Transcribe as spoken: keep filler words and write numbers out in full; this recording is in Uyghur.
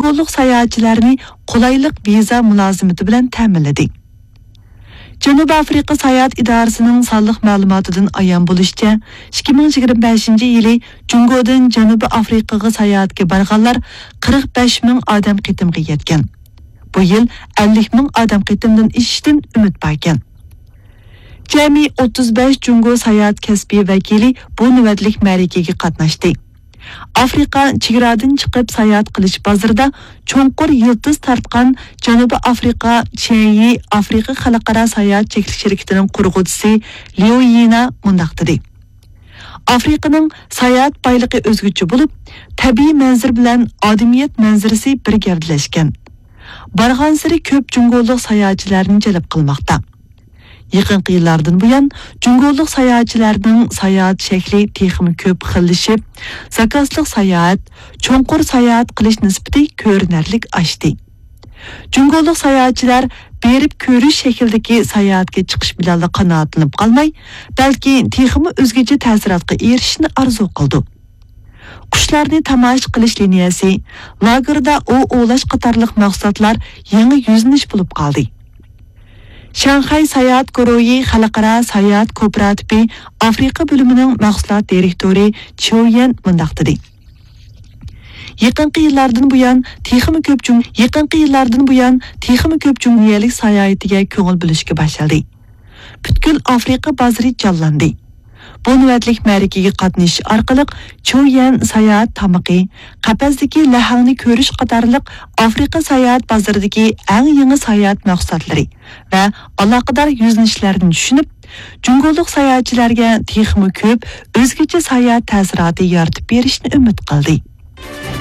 جۇڭگولۇق ساياھەتچىلەرنى قولايلىق ۋىزا مۇلازىمىتى بىلەن تەمىنلىدى. جەنۇبىي ئافرىقا ساياھەت ئىدارىسىنىڭ سانلىق مەلۇماتىدىن ئايان بولۇشىچە، ئىككى مىڭ يىگىرمە بەشىنچى يىلى جۇڭگودىن جەنۇبىي ئافرىقىغا ساياھەتكە بارغانلار قىرىق بەش مىڭ ئادەم قېتىمغا يەتكەن. بۇ يىل ئەللىك مىڭ ئادەم قېتىمدىن ئېشىشتىن ئۈمىد باركەن. جەمئىي ئوتتۇز بەش جۇڭگو ساياھەت كەسپىي ۋەكىلى بۇ نۆۋەتلىك مەرىكىگە قاتناشتى. ئافرىقا چېگرادىن چىقىپ ساياھەت قىلىش بازىرىدا چوڭقۇر يىلتىز تارتقان جەنۇبىي ئافرىقا چيەنيى ئافرىقا خەلقئارا ساياھەت چەكلىك شىركىتىنىڭ قۇرغۇچىسى ليۇ يىنا مۇنداق دېدى: ئافرىقىنىڭ ساياھەت بايلىقى ئۆزگىچە بولۇپ، تەبىئىي مەنزىرە بىلەن ئادەمىيەت مەنزىرىسى بىر گەۋدىلەشكەن. بارغانسېرى كۆپ جۇڭگولۇق ساياھەتچىلەرنى جەلپ قىلماقتا. يېقىنقى يىللاردىن بۇيان، جۇڭگولۇق ساياھەتچىلەرنىڭ ساياھەت شەكلى تېخىمۇ كۆپ خىللىشىپ، زاكازلىق ساياھەت، چوڭقۇر ساياھەت قىلىش نىسبىتى كۆرۈنەرلىك ئاشتى. جۇڭگولۇق ساياھەتچىلەر بېرىپ كۆرۈش شەكلىدىكى ساياھەتكە چىقىش بىلەنلا قانائەتلىنىپ قالماي، بەلكى تېخىمۇ ئۆزگىچە تەسىراتقا ئېرىشىشنى ئارزۇ قىلىدۇ. قۇشلارنى تاماشا قىلىش لىنىيەسى، لاگېردا ئوۋ ئوۋلاش قاتارلىق مەھسۇلاتلار يېڭى يۈزلىنىش بولۇپ قالدى. شاڭخەي ساياھەت گۇرۇھى خەلقئارا ساياھەت كوپىراتىپى ئافرىقا بۆلۈمىنىڭ مەھسۇلات دىرېكتورى چيۇ يەن مۇنداق دېدى: يېقىنقى يىللاردىن بۇيان تېخىمۇ كۆپ جۇڭ-، يېقىنقى يىللاردىن بۇيان تېخىمۇ كۆپ جۇڭيەلىك ساياھىتىگە كۆڭۈل بۆلۈشكە باشلىدى. پۈتكۈل ئافرىقا بازىرى جانلاندى. بۇ نۆۋەتلىك مەرىكىگە قاتنىشىش ئارقىلىق چيۇ يەن ساياھەت تامىقى، قەپەستىكى لەھەڭنى كۆرۈش قاتارلىق ئافرىقا ساياھەت بازىرىدىكى ئەڭ يېڭى ساياھەت مەھسۇلاتلىرى ۋە ئالاقىدار يۈزلىنىشلەردىن چۈشىنىپ، جۇڭگولۇق ساياھەتچىلەرگە تېخىمۇ كۆپ ئۆزگىچە ساياھەت تەسىراتى يارىتىپ بېرىشنى ئۈمىد قىلدى.